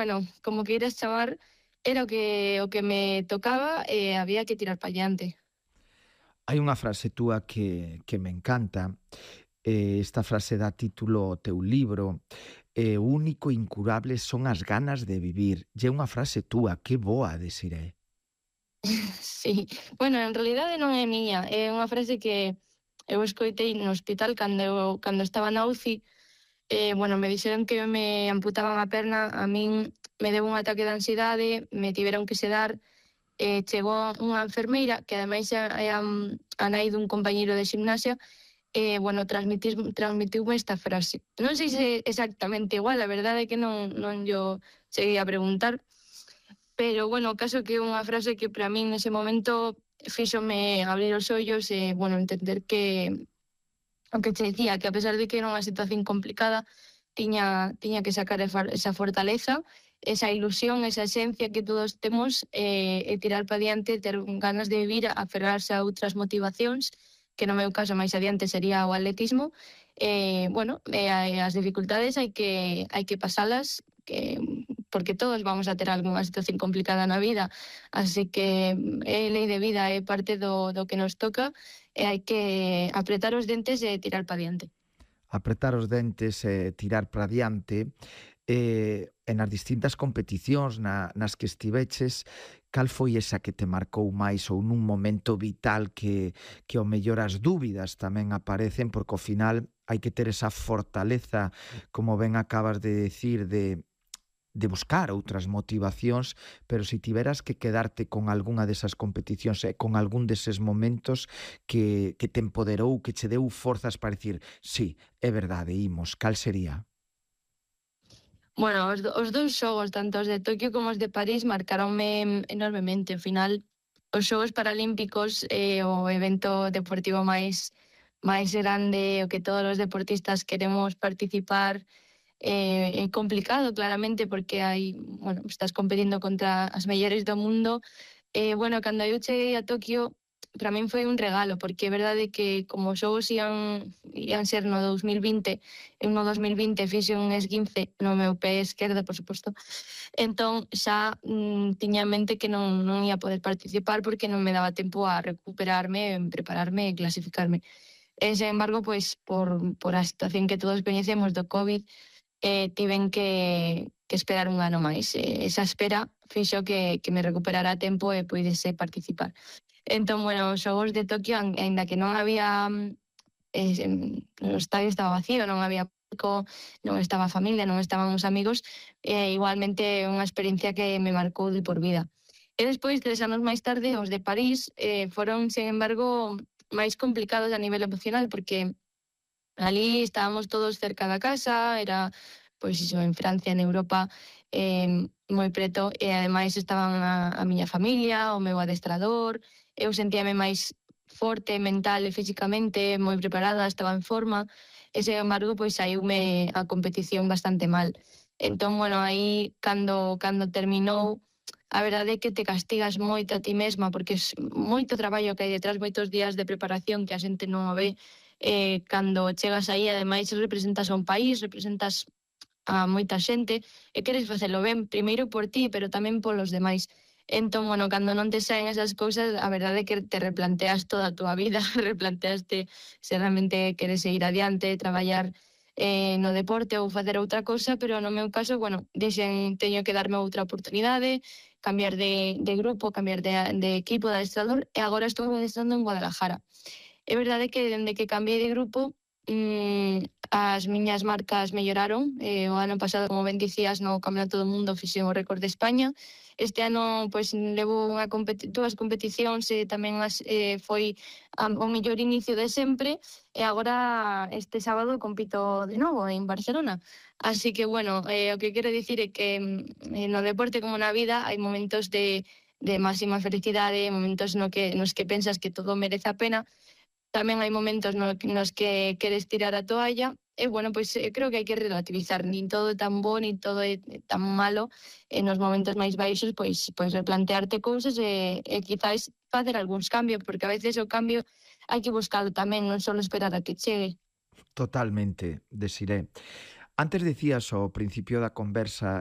bueno, como queiras chamar, era o que me tocaba e había que tirar pa diante. Hai unha frase túa que me encanta. Esta frase dá título ao teu libro. O único incurable son as ganas de vivir. E é unha frase túa, que boa, Desiré. Sí, bueno, en realidade non é miña, é unha frase que eu escoitei no hospital cando estaba na UCI. Bueno, me dixeron que me amputaban a perna, a min me deu un ataque de ansiedade, me tiveron que sedar, chegou unha enfermeira que ademais é a nai dun compañeiro de ximnasia. Bueno, transmitiume esta frase. Non sei se é exactamente igual, a verdade é que non llo cheguei a preguntar, pero bueno, o caso que é unha frase que para min nese momento fíxome abrir os ollos e, bueno, entender que o que che dicía, que a pesar de que era unha situación complicada, tiña que sacar esa fortaleza, esa ilusión, esa esencia que todos temos, e tirar para diante, ter ganas de vivir, aferrarse a outras motivacións, que no meu caso máis adiante sería o atletismo. Bueno, as dificultades hai que pasalas, porque todos vamos a ter algunha situación complicada na vida, así que é lei de vida, é parte do que nos toca, e hai que apretar os dentes e tirar para diante. Apretar os dentes e tirar para diante. E nas distintas competicións nas que estiveches, cal foi esa que te marcou máis ou nun momento vital que ao mellor as dúbidas tamén aparecen, porque ao final hai que ter esa fortaleza, como ben acabas de decir, de buscar outras motivacións, pero se tiveras que quedarte con algunha desas competicións e con algún deses momentos que te empoderou, que che deu forzas para dicir, sí, é verdade, imos, cal sería? Bueno, os dous xogos, tanto os de Toquio como os de París, marcaronme enormemente. Ao final, os Xogos Paralímpicos é o evento deportivo máis grande, o que todos os deportistas queremos participar. É complicado, claramente, porque bueno, estás competindo contra as mellores do mundo. Bueno, cando eu cheguei a Tokio, para min foi un regalo, porque é verdade que como os xogos ían ser no 2020, eu no 2020 fixe un esguince no meu pé esquerdo, por suposto. Entón xa tiña en mente que non ia poder participar porque non me daba tempo a recuperarme, prepararme e clasificarme. Sen embargo, pois por a situación que todos coñecemos do COVID, tiven que esperar un ano máis. Esa espera fixo que me recuperara a tempo e puidese participar. Entón, bueno, os Xogos de Tokio, aínda que non había o estadio estaba vacío, non había público, non estaba a familia, non estaban os amigos, igualmente unha experiencia que me marcou de por vida. E despois, 3 anos máis tarde, os de París, foron, sen embargo, máis complicados a nivel emocional, porque alí estábamos todos cerca da casa, era, pois iso, en Francia, en Europa, moi preto, e ademais estaban a miña familia, o meu adestrador. Eu sentíame máis forte mental e físicamente, moi preparada, estaba en forma, e sen embargo, pois saíume a competición bastante mal. Entón, bueno, aí cando terminou, a verdade é que te castigas moito a ti mesma, porque é moito traballo que hai detrás, moitos días de preparación que a xente non o ve. Cando chegas aí, ademais, representas a un país, representas a moita xente e queres facelo ben, primeiro por ti, pero tamén polos demais. Entón, bueno, cando non te saen esas cousas, a verdade é que te replanteas toda a túa vida, replanteaste se realmente queres seguir adiante, traballar no deporte ou facer outra cousa, pero no meu caso, bueno, dixen teño que darme outra oportunidade, cambiar de grupo, cambiar de equipo, de adestrador, e agora estou adestrando en Guadalajara. É verdade que dende que cambiei de grupo, as miñas marcas melloraron. O ano pasado, como ben dicías, no Campeonato do Mundo fixen o récord de España. Este ano, pois, levo dúas competicións e tamén foi o mellor inicio de sempre, e agora este sábado compito de novo en Barcelona. Así que, bueno, o que quero dicir é que no deporte como na vida hai momentos de máxima felicidade, momentos nos que pensas que todo merece a pena. Tamén hai momentos nos que queres tirar a toalla e, bueno, pois creo que hai que relativizar. Nin todo é tan bo, nin todo é tan malo. E nos momentos máis baixos, pois replantearte cousas e quizás facer algúns cambios, porque a veces o cambio hai que buscalo tamén, non só esperar a que chegue. Totalmente, Desiré. Antes dicías ao principio da conversa